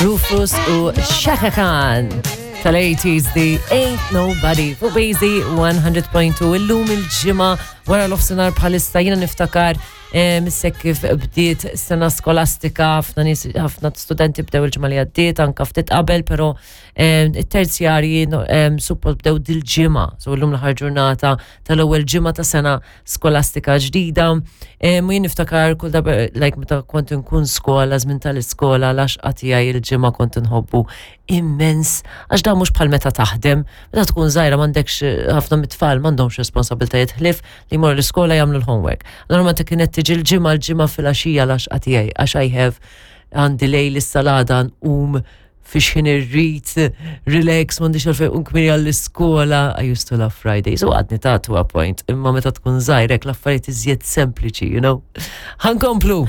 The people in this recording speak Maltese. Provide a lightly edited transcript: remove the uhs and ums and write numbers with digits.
Rufus u Chaka Khan tal-80s The Ain't Nobody fuq Bazy 100.2 illum il-ġimgħa wara l-ofsinhar bħalissa jiena niftakar eh, missek kif bdiet sena skolastika ħafna nies ħafna studenti bdew il-ġimgħa li għaddiet anka ftit qabel però eh, it-terzjarji eh, suppost bdew dil-ġimgħa so llum l-aħħar ġurnata tal-ewwel ġimgħa ta' sena skolastika ġdida. Mu jien niftakar kull darba, like meta kont inkun skola, żmien tal-iskola, l-għaxqa tiegħi il-ġimgħa kont inħobbu immens, għax dan mhux bħal meta taħdem, meta tkun żgħira m'għandekx eh, ħafna mit-tfal m'għandhomx responsabiltajiet ħlief li jmorru l-iskola jagħmlu l-homework. Allura meta kienet tiġi l-ġimgħa l-ġimgħa filgħaxija l-għaxqa tiegħi għax I have għandi lejl is-salada nqum fi xħin irrid, relax, m'għandix għalfejn un kmini għall-iskola, I used to love Fridays, u għadni ta' to a point, imma meta tkun żgħirek l-affarijiet iżjed sempliċi, you know. Ħankomplu!